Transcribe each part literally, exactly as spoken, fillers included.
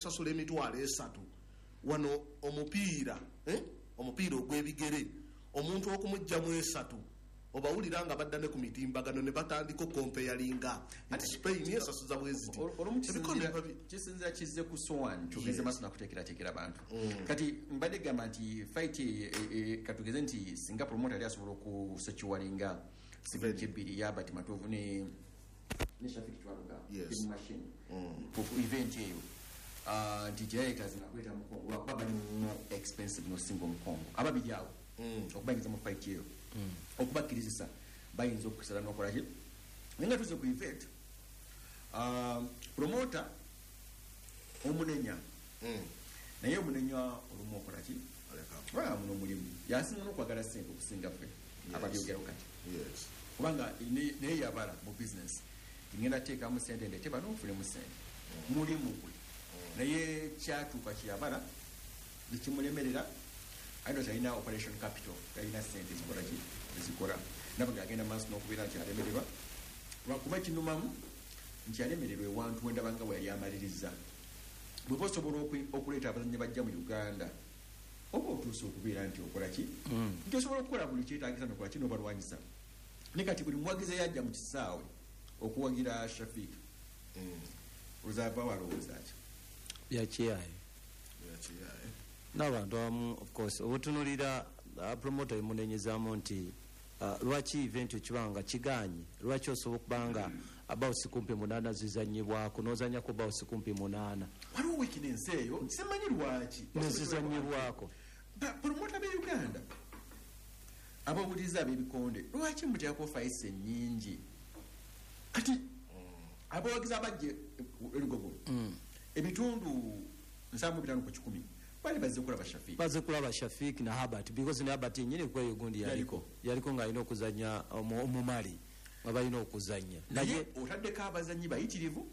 Okusasula emitwalo esatu wano omupiira, eh? Omupiira ogw'ebigere, omuntu okumugjamu esatu, obawulira nga badda ne ku mitimbagano ne batandika okompeyalinga nti Spain esasuza bweziti. Olumu Ebikonde biba bi- kisinzira kizze ku sowan kyogenze maaso nakuteekerateekera abantu. Kati mbadde gamba nti fight e- e- katugeze nti singa promoter yali asobola okusecuringa signature ebbiri ya Herbert Matovu ne ne Shafik Kiwanuka, Yes. Big Machine, ku ku event eyo, Ah, nti teyayetazinga kuleeta Mukongo lwakuba bali more expensive nosinga Omukongo ababiri awo okubayingiza mu fight eyo, okubakkirizisa bayinza okusala nokolaki. Naye nga tuze ku event, ah, promoter omunenya, naye omunenya olumu okolaki? Aleka. Muno omulimu yasinga n'okwagala sente okusinga ffe ababyogerawo kati, yes kubanga ne- naye yabala mu business, ngenda teekamu sente ndete bano nfunemu sente, mulimu gwe. Naye kyatuuka kyeyabala nekimulemerera, aino talina operation capital, talina sente zikola ki, ezikola naba nga agenda maaso n'okubeera nti alemererwa, lwakuba kinumamu nti alemererwa ewantu wendaba nga bwe yali amaliriza. Bweba osobola oku- okuleeta abazannyi bajja mu Uganda, oba otuuse okubeera nti okola ki, nti osobola okukola buli kyetagisa nokola ki, nobalwanyisa. Ne kati buli muwagizi eyajja mu kisaawe okuwagira Shafik ozava walowooza ki? Byakiyaye n'abantu abamu. Of course, obutunulira uh, promoter emunenyezaamu nti uh, lwaki event ekiba nga kiganye, lwaki osobola okuba nga bouts kumpi munaana zizanyibwako, nozanyako bouts kumpi munaana? Waliwo weakness eyo, simanyi lwaki. Nezizanyibwako. Ba- promoter be Uganda abawuliriza ab'ebikonde, lwaki muteekako fights ennyingi? Kati abawagizi abajja elugogo, ebitundu nsanvu bitaano ku kikumi bali bazze kulaba Shafik. Baze kulaba Shafik na Herbert, because ne Herbert yenyini kweyo gundi yaliko yaliko ng'alina okuzanya omu- omumali nga balina okuzanya. Naye otaddeko abazanyi bayitirivu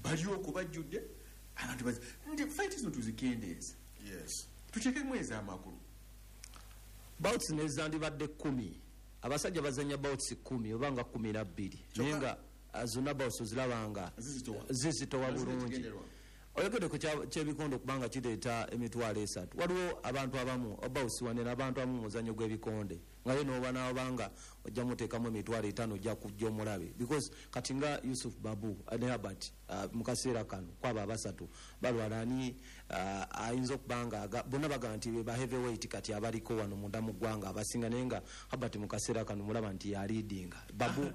bali okubajjudde abantu bazi nti fight zino tuzikendeeza, yes tuteekemu ez'amakulu. Bouts nezandibadde kumi, abasajja bazanya bouts kumi oba nga kumi nabbiri, naye nga ah, zonna bouts oziraba nga Zizitowa. zizitowa Zizitowa. bulungi. Kigendererwa. Oyogedde ku kya- kyebikondo okubanga kireeta emitwalo esatu. Waliwo abantu abamu bouts wanene, abantu abamu mu muzanyo gw'ebikonde nga ye noba nabanga ojja muteekamu emitwalo etaano, ojja kujja omulabe, because kati nga Yusuf Babu ne Herbert, uh, mu kaseera kano kwabo abasatu balwala, ani uh, ayinza okuba nga aga- bonna bagamba nti be ba heavyweight kati abaliko wano munda mu ggwanga abasinga, naye nga Herbert mu kaseera kano mulaba nti yaleadinga Babu.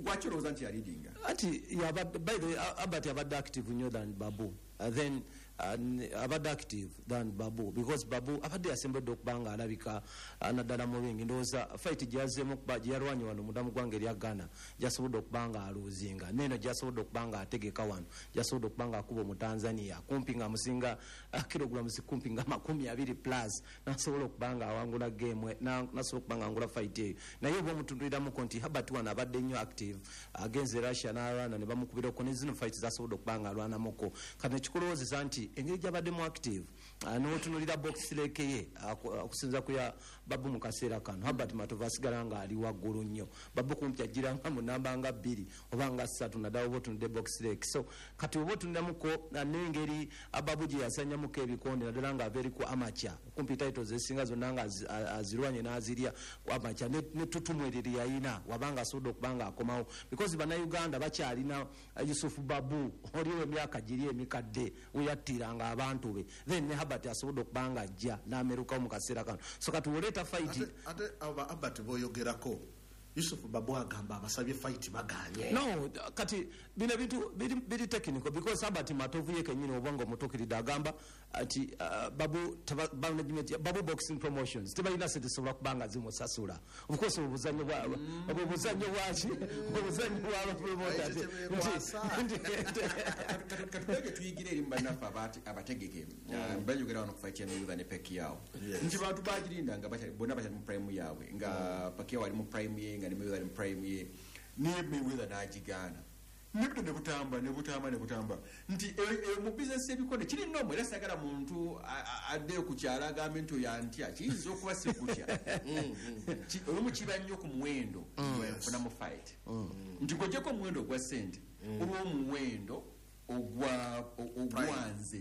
Gwaki olowooza nti yaleadinga? Ati yabadde, by the way, Herbert abadde active nnyo than Babu. uh, then uh, n- abadde active than Babu because Babu abadde yasembedde okuba nga alabika uh, naddala mu ring. Ndowooza fight gyazeemu okuba gyeyalwanye wano munda mu ggwanga erya Ghana, gyasobodde okuba nga alosinga, neno gyasobodde okuba nga ategeka wano, gyasobodde okuba nga akuba Omutanzania kumpi nga amusinga uh, kilograms kumpi nga makumi abiri plus, nasobola okuba nga awangula game, na- nasobola okuba nga awangula fight eyo. Naye oba omutunduliramuko nti Herbert wano abadde nnyo active, agenze Russia n'alwana ne bamukubirako, ne zino fight zasobodde okuba nga alwanamuko. Kati nekikulowoozesa nti engeri gyabaddemu active, ah, n'otunulira BoxRec ye, ah, ku- ah, okusinza ku ya Babu mu kaseera kano, Herbert Matovu asigala nga ali waggulu nnyo. Babu kumpi agiranga mu namba nga bbiri oba nga ssatu, naddala oba otunudde BoxRec. So kati oba otunulamuko ah, n'engeri ah, Babu gye yasanyamuko ebikonde, naddala nga ava eri ku amateur, kumpi titles ezisinga zonna nga azi- a- azirwanye n'azirya ku amateur, ne ne tutumu eryo lye yayina wabanga asobodde okuba nga akomawo, because Bannayuganda bakyalina uh, Yusuf Babu oliwo emyaka giri emikadde weyattiranga abantu be, then ne Herbert asobodde okuba nga ajja n'amerukawo mu kaseera kano. So kati oleeta fight. ate ate aba Herbert boyogerako, Yusuf Babu agamba abasabye fight baganye. No, kati bino ebintu biri, biri technical, because Herbert Matovu ye kenyini oba nga omutuukiridde agamba nti uh, Babu teba- management ya Babu Boxing Promotions tebalina sente zisobola kuba nga zimusasula. Of course obuzanyo bwa obwo buzanyo bwaki, obuzanyo bwa promoter. Ekyo kyebekwasa. Katugage tuyigira eri mu bannaffe abate- abategeke bayogera wano ku fight ya Mayweather ne Pacquiao, Yes. nti bantu bagirinda nga bakyali- bonna bakyali mu prime yaabwe, nga Pacquiao ali mu prime ye, nga ne Mayweather ali mu prime ye, ne Mayweather n'agigaana, nebito ne butamba ne butamba ne butamba, nti e- e, mu bizinesi y'ebikonde kiri nomu. Era sagala muntu a- a- addeyo ku kyalo agambe nti oyo antya, kiyinza okuba si kutya. Ki- olumu kiba nnyo ku muwendo gwenfuna mu fight, nti gojjeko omuwendo ogwa ssente, olw'omuwendo Ogwa ogwanze.